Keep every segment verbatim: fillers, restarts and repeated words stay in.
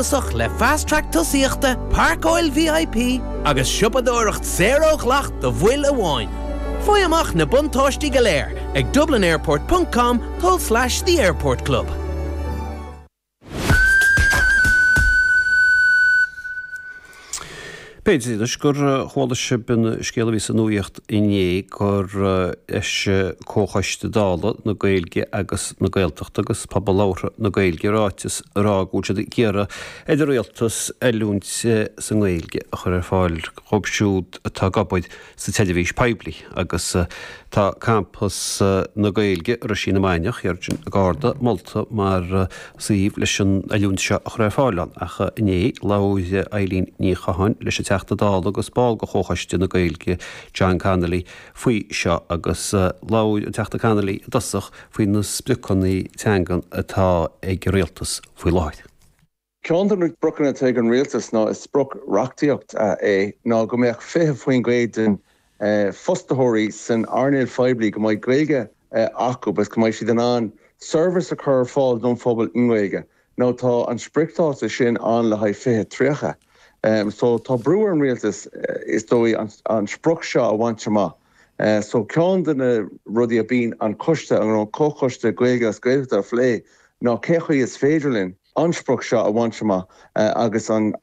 Suntasach le Fast Track tosaíochta, páirceáil VIP agus siopadóireacht saor ó dhleacht do bhaill amháin. Faigh amach na buntáistí go léir ag dublinairport.com tulslais The Airport Club. B'fhéidir anois gur chuala sibh an scéal a bhí sa nuaíocht inné gur eisigh Comhchoiste Dála na Gaeilge agus na Gaeltachta agus Pobal Labhartha na Gaeilge ráiteas ag rá go bhfuil siad ag iarraidh ar an rialtas oiliúint sa nGaeilge a chur ar fáil dhóibh siúd atá ag obair sa tseirbhís poiblí agus tá Campas na Gaeilge i Roisín na Mainiach thiar i gCarna molta mar suíomh leis an oiliúint seo a chur ar fáil ann. Ach inné labhair Eileen Ní Chatháin leis an Teachta Dála agus ball de Chomhchoiste na Gaeilge John Connolly faoi seo agus labhair an Teachta Connolly i dtosach faoi na spriocanna teangan atá ag an rialtas faoi láthair. Ceann de na spriocanna atá ag an rialtas ná is sprioc reachtaíocht é ná go mbeadh fiche faoin gcéad den fostaitheoirí san earnáil phoiblí go mbeidh Gaeilge acu agus go mbeidh siad in ann seirbhís a chur ar fáil don phobal i nGaeilge. Nó tá an spriocdháta sin ann le haghaidh fiche tríocha. So tá brú ar an rialtas is dóigh an sprioc seo a bhaint amach. So ceann de na rudaí a bíonn an coiste, an comhchoiste Gaeilge agus Gaeltachta a phlé ná cé chaoi is féidir linn an sprioc seo a bhaint amach agus an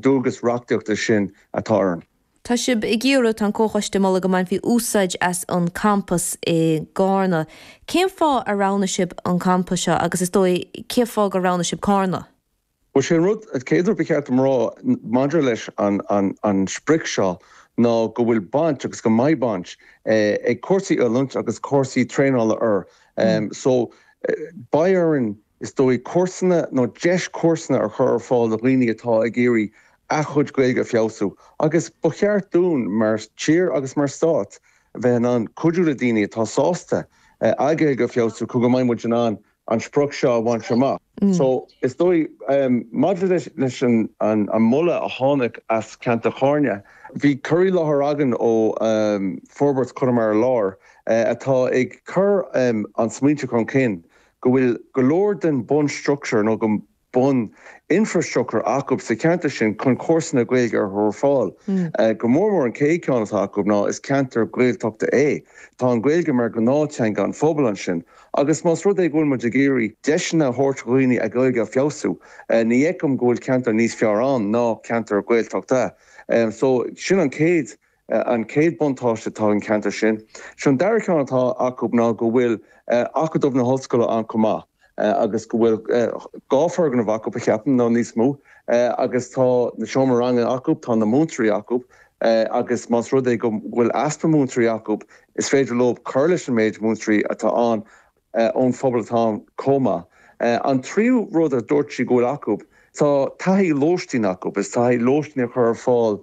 dualgas reachtaíochta sin atá orainn. Tá sibh ag iarraidh, tá an Comhchoiste ag moladh go mbainfí úsáid as an campas i gCarna. Cén fáth ar roghnaigh sibh an campas seo agus is dóigh cén fáth gur roghnaigh sibh Carna? Bhuel, sé an rud, an chéad rud ba cheart dom rá maidir leis an an sprioc seo ná go bhfuil baint agus go mbeidh baint ag cúrsaí oiliúint agus cúrsaí traenála air. So beidh orainn is dóigh cúrsanna nó deis cúrsanna a chur ar fáil do dhaoine atá ag iarraidh a chuid Gaeilge a feabhsú agus ba cheart dúinn mar tír agus mar stát a bheith in ann cuidiú le daoine atá sásta a Gaeilge a feabhsú chun go mbeidh muid in ann an sprioc seo a bhaint amach. So is dóigh maidir leis an an moladh a tháinig as ceantar Charna, bhí cur i láthair againn ó Forbairt Chonamara Láir atá ag cur an smaointe chun cinn go bhfuil go leor den bunstructúr nó go bun infrastructúr acu sa cheantar sin chun cúrsanna Gaeilge a chur ar fáil. Go mór mór an chéad ceann atá acu ná is ceantar Gaeltachta é. Tá an Ghaeilge mar gnáth-teanga an phobail ansin agus más rud é go bhfuil muid ag iarraidh deiseanna a thabhairt do dhaoine a Gaeilge a feabhsú, ní fheicim go bhfuil ceantar níos fearr ann ná ceantar Gaeltachta. So sin an chéad an chéad buntáiste atá an ceantar sin. Sin an dara ceann atá acu ná go bhfuil Acadamh na hOllscoile ann chomh maith agus go bhfuil dhá foirgneamh acu a cheapaim nó níos mó agus tá na seomra ranga acu, tá na múinteoirí acu agus más rud é go bhfuil easpa múinteoirí acu is féidir leo cur leis an méid múinteoirí atá ann ón phobal atá ann chomh maith. An tríú rud a dúirt sí go bhfuil acu, tá taithí lóistín acu, is taithí lóistín a chur ar fáil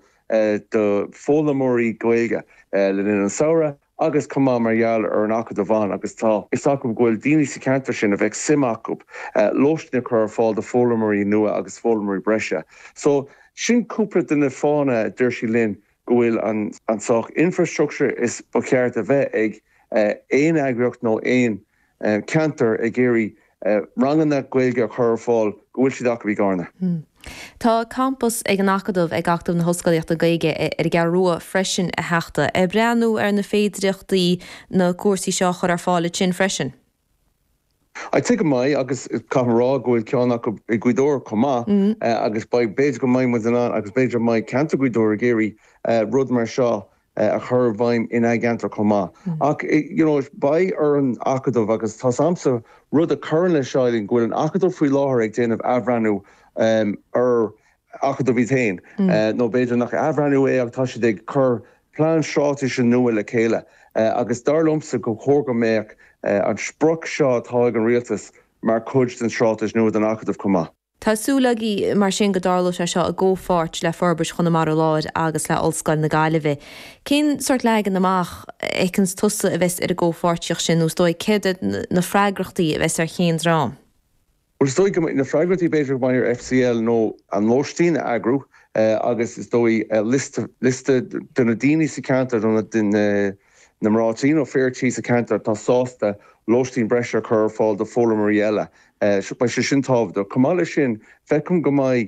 do foghlaimeoirí Gaeilge le linn an samhradh agus chomh maith mar gheall ar an Acadamh ann agus tá fhios acu go bhfuil daoine sa cheantar sin a bheadh suim acu lóistín a chur ar fáil do foghlaimeoirí nua agus foghlaimeoirí breise. So sin cúpla de na fáthanna a deir sí linn go bhfuil an an saghas infrastructure is ba cheart a bheith ag aon eagraíocht nó aon ceantar ag iarraidh ranganna Gaeilge a chur ar fáil go bhfuil siad acu i gCarna. Tá campas ag an Acadamh ag Acadamh na hOllscolaíochta Gaeilge ar an gCeathrú Rua freisin a Theachta. Ag breathnú ar na féidireachtaí na cúrsaí seo a chur ar fáil ansin freisin? I think go mbeidh agus caithfidh mé a rá go bhfuil ceann acu i Gaoth Dobhair chomh maith agus beidh b'fhéidir go mbeidh muid in ann agus b'fhéidir go mbeidh ceantar Ghaoth Dobhair ag iarraidh rud mar seo a chur i bhfeidhm ina gceantar chomh maith. Ach you know beidh ar an Acadamh agus tá agamsa rud a chuireann leis seo go bhfuil an Acadamh faoi láthair ag déanamh athbhreithniú ar Acadamh iad féin nó b'fhéidir nach athbhreithniú é ach tá siad ag cur plean straitéise nua le chéile agus dar liomsa go chóir go mbeadh an sprioc seo atá ag an rialtas mar chuid den straitéis nua don Acadamh chomh maith. Tá súil agaibh mar sin go dtarlóidh sé seo i gcomhpháirt le Forbairt Chonamara Láir agus le Ollscoil na Gaillimhe. Cén sórt leagan amach a fheiceanns tusa a bheas ar an gcomhpháirtíocht sin nó is dóigh céard iad na freagrachtaí a bheas ar chaon dream? Bhuel is dóigh go mbeidh na freagrachtaí b'fhéidir go mbeidh ar FCL nó an lóistín a eagrú agus is dóigh liosta liosta de na daoine sa cheantar nó na na mná tí nó fir tí sa cheantar atá sásta lóistín breise a chur ar fáil do foghlaimeoirí eile. Beidh sé sin tábhachtach. Chomh maith leis sin, feicim go mbeidh